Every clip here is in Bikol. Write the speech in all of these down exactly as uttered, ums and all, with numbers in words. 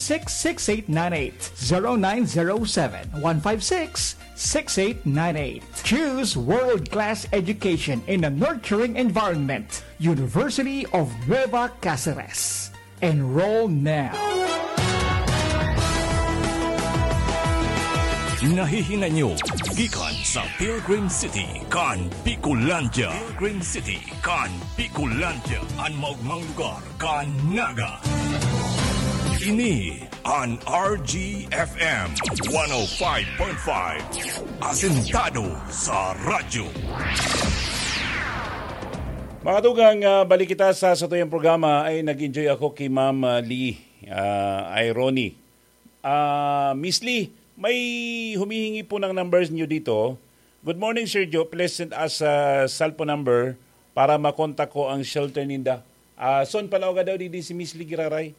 six six eight nine eight, zero nine zero seven, one five six, six eight nine eight. Choose world-class education in a nurturing environment. University of Nueva Caceres. Enroll now. Nahihinay nyo gikan sa Pilgrim City kan Bicolandia. Pilgrim City kan Bicolandia, an maogmang lugar kan Naga. Ini an R G F M one oh five point five, asentado sa radyo. Mga tugang, ah, balik kita sa satuyang programa. Ay, nag-enjoy ako kay Ma'am, ah, Lee, ah, Irony. Ah, Miss Lee, may humihingi po ng numbers niyo dito. "Good morning, Sir Joe. Please send us a cellphone number para makontak ko ang shelter ninda." Ah, son, palaoga daw, di, di si Miss Lee giraray.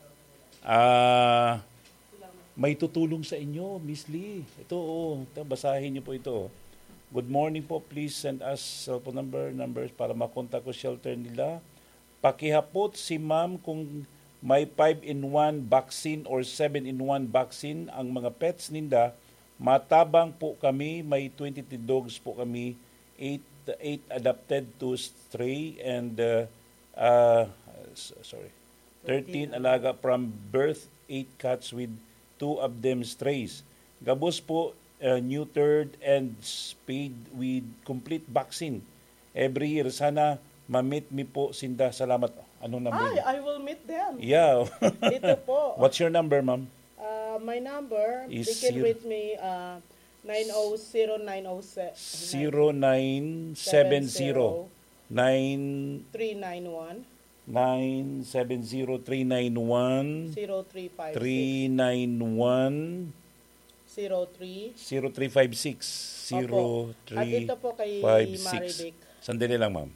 Ah, may tutulong sa inyo, Miss Lee. Ito, oh, ito, basahin niyo po ito. "Good morning po. Please send us cellphone number, numbers para makontak ko shelter nila. Pakihapot si ma'am kung may five-in-one vaccine or seven-in-one vaccine ang mga pets ninda. Matabang po kami, may twenty-two dogs po kami, eight, eight adopted, two stray, and, uh, uh, s- sorry, thirteen alaga from birth, eight cats with two of them strays. Gabos po, uh, neutered and spayed with complete vaccine every year. Sana ma-meet mi po sinda. Salamat." Anong number Ay, niya? I will meet them. Yeah. Ito po. What's your number, ma'am? Uh, my number, Is they can zero- reach me, uh, nine oh zero nine oh se- Zero nine seven zero nine three nine one. Nine seven zero three nine one zero three five six. Three nine one Zero three. Zero three five six. Opo. At ito po kay Zero three five six. Marivic. Sandali lang, ma'am.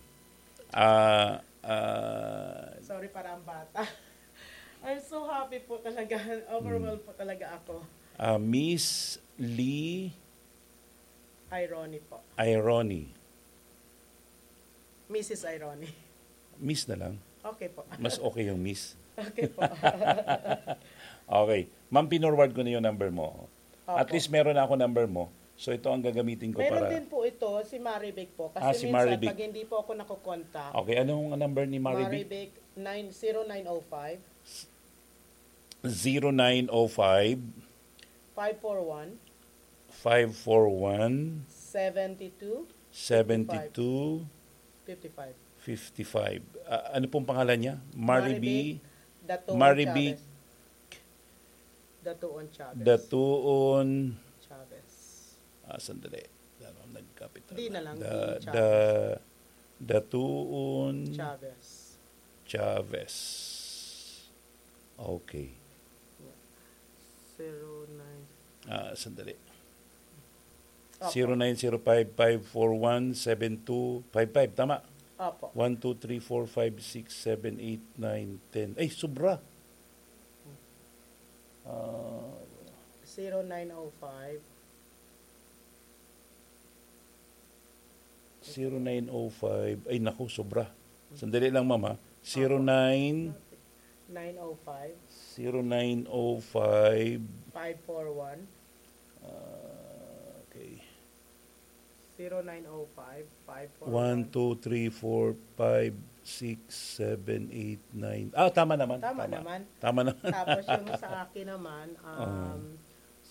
Ah, ah, Sorry, parang bata. I'm so happy po talaga. Overwhelmed po talaga ako. Ah, Miss Lee Irony po. Irony. Missus Irony. Miss na lang. Okay po. Mas okay yung Miss. Okay po. Okay. Ma'am, pinorward ko na yung number mo. At Opo. least meron na ako number mo. So, ito ang gagamitin ko Meron para din po ito, si Marivic po. Kasi Ah, si minsan, Marivic. pag hindi po ako nakokontak, Okay, anong number ni Marivic? Marivic, nine, zero nine oh five, Zero nine oh five, five four one, five four one, seventy two, seventy two, fifty five. fifty five. Ah, ano pong pangalan niya? Maribi? Marivic Datuon Marivic Chavez. Datuon Chavez. Datuon. Chavez. Ah, sandali. Ano, nagkapital Di na. na lang, Da-, di Chavez. Da-, Datuon Chavez. Chavez. Okay. Zero nine. Ah, sandali. Opo. Zero nine zero five five four one seven two five five. Tama? Opo. One, two, three, four, five, six, seven, eight, nine, ten. Ay, sobra. Ah, Zero nine oh five. Zero nine oh five. Ay, naku, sobra. Sandali lang, ma'am, ha? Zero nine Nine oh five. Zero nine oh five. Five four one. Ah, okay. Zero nine oh five, five four one. One, two, three, four, five, six, seven, eight, nine. Ah, tama naman. Tama Tama. naman. Tama naman. Tapos yung sa akin naman, Oo. um,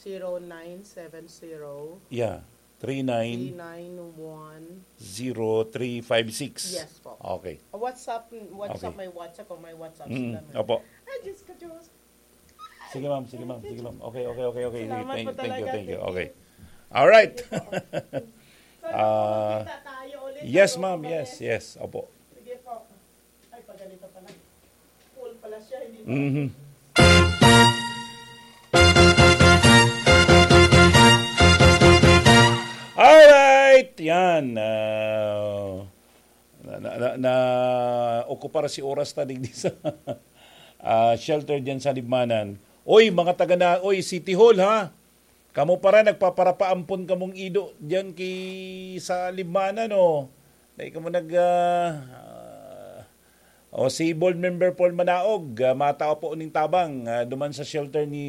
zero nine seven zero, Yeah. Three nine three nine one. zero three five six. Yes po. Okay. WhatsApp, WhatsApp, Okay. may WhatsApp o may WhatsApp Mm, sila, ma'am. opo. Ay, Diyos ko, Diyos. Sige, ma'am. Sige, ma'am. Sige, ma'am. Okay, okay, okay, okay. Sige, Salamat thank, po thank you, talaga. thank you. Thank you. Okay. All right. Sige po. Sana Ah, makita tayo ulit. yes, Ano ma'am. po Yes, kami? yes. Opo. Sige po. Ay, paganito pala. Full pala siya, hindi pala. Mhm. Alright, yan. Ah, na, na, na, na, okupar si oras ta digdi sa, ah, shelter diyan sa Libmanan. Oy, mga taga na, oy, City Hall, ha? Kamo para nagpaparapaampon kamong ido diyan ki, sa Libmanan, no? Dai kamo nag, ah, ah, o si Board Member Paul Manaog, ah, matao po ning tabang, ah, duman sa shelter ni